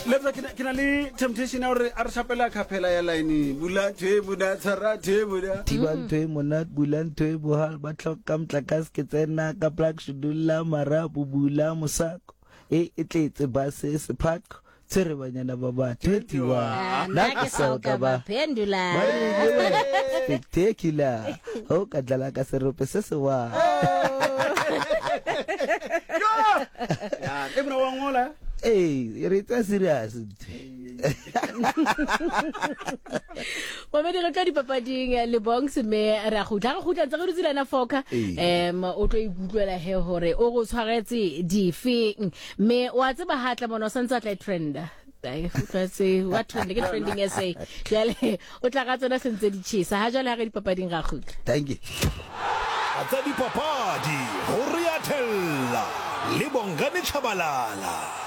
Lebza ke na le temptation ya gore a re šapele a cappella ya line bula ntho e buna tshwara ntho e buna. Thiba ntho e monate bula ntho e bohal ba tlhoka motlakase ke tsena ka plug šudulla marapo bula mosako e e tletse ba se sephatko tshwere banyana ba ba 21 Ah, nna ke sa o ka ba phendula. Ba re ke wena spectacular o ka dlala ka serope se se wa Ya, e mona wa ngola. Ee, re tsa serious ntho. Mamedi re tla dipapading le Bongs mme re a gutla re gutla ntse re dutse le ena Foka um o tlo ikutlwela he hore o go tshwaretse difeng mme wa tseba ha tla mona o santse a tla e trenda utlwetse wa trend ke trending SA jale o tla ka tsona sentse di chesa ha jwale ha re dipapading ra kgutla. Thank you. Tsa dipapadi go Re a Thella le Bongani Tshabalala.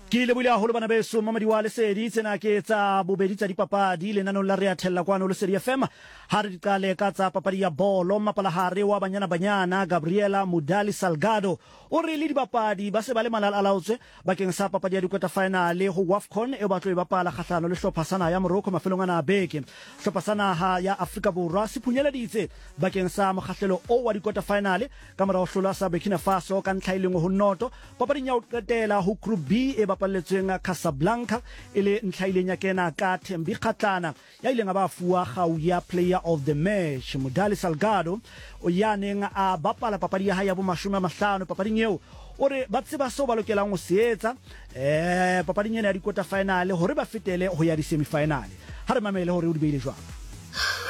Ke lebohile haholo bana beso mamadi wa Lesedi. Tsena ke tsa bobedi tsa dipapadi lenanong la Re a Thella kwano Lesedi FM. Ha re di qale ka tsa papadi ya bolo. Mmapalahare wa Banyana Banyana Gabriela Mudali Salgado o re le dibapadi ba se ba le malal-a-laotswe bakeng sa papadi ya dikota-faenale ho Wafcon eo ba tlo e bapala kgahlano le hlopha sa naha ya Morocco mafelong ana a beke. Hlopha sa naha ya Afrika Borwa se phunyeleditse bakeng sa mokgahlelo o wa dikota-faenale ka mora ho hlola sa Burkina Faso ka ntlha e le nngwe ho noto papading ya ho qetela ho Group B e bapalletsweng Casablanca, e le ntlha e ileng ya kena ka Thembi Kgatlana ya ileng a ba fuwa kgau ya Player of the Match. Mudali Salgado, ya neng a bapala papadi ya hae ya bomashome a mahlano papading eo, o re ba tseba seo ba lokelang ho se etsa eh, papading ena ya dikota-faenale hore ba fetele ho ya di-semi-faenale. Ha re mamele hore o di beile jwang.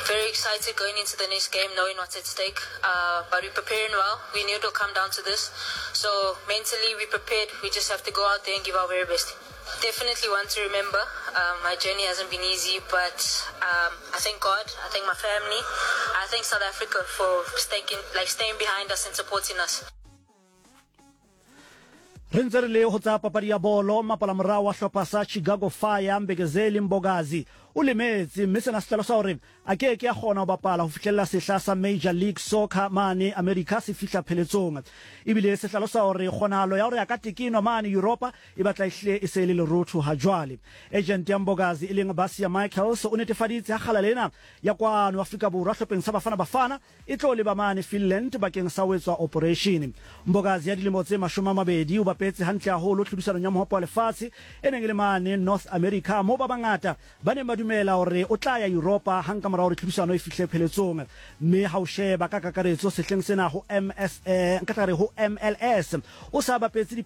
Very excited going into the next game, knowing what's at stake. But we're preparing well. We knew it will come down to this. So mentally we prepared. We just have to go out there and give our very best. Definitely want to remember. Um, my journey hasn't been easy, but um, I thank God, I thank my family, I thank South Africa for staying, like staying behind us and supporting us. Re ntse re le ho tsa papadi ya bolo, mapalamorao wa hlopha sa Chicago Fire Mbekezeli Mbokazi o lemetse mme sena se hlalosa hore A ke ke a kgona ho bapala ho fihlella sehla sa Major League Soccer mane America se fihla pheletsong. Ebile se hlalosa hore kgonahalo ya hore a ka tekenwa mane Yuropa e batla e hlile e se e le lerotho ha jwale. Agent ya Mbokazi e leng Basia Michaels o netefaditse ha kgalala ena ya kwano Afrika Borwa hlopheng sa Bafana Bafana e tlo leba mane Finland bakeng sa ho etswa opereishene. Mbokazi ya dilemo tse 20 o bapetse hantle haholo tlhodisanong ya Mohope wa Lefatshe e neng e le mane North America moo ba bangata Ba neng ba dumela hore o tla ya Yuropa hang ka mora hore tlhodisano e fihle pheletsong. Mme ha o sheba ka kakaretso sehleng sena ho MS, nka tla re ho MLS, o sa bapetse.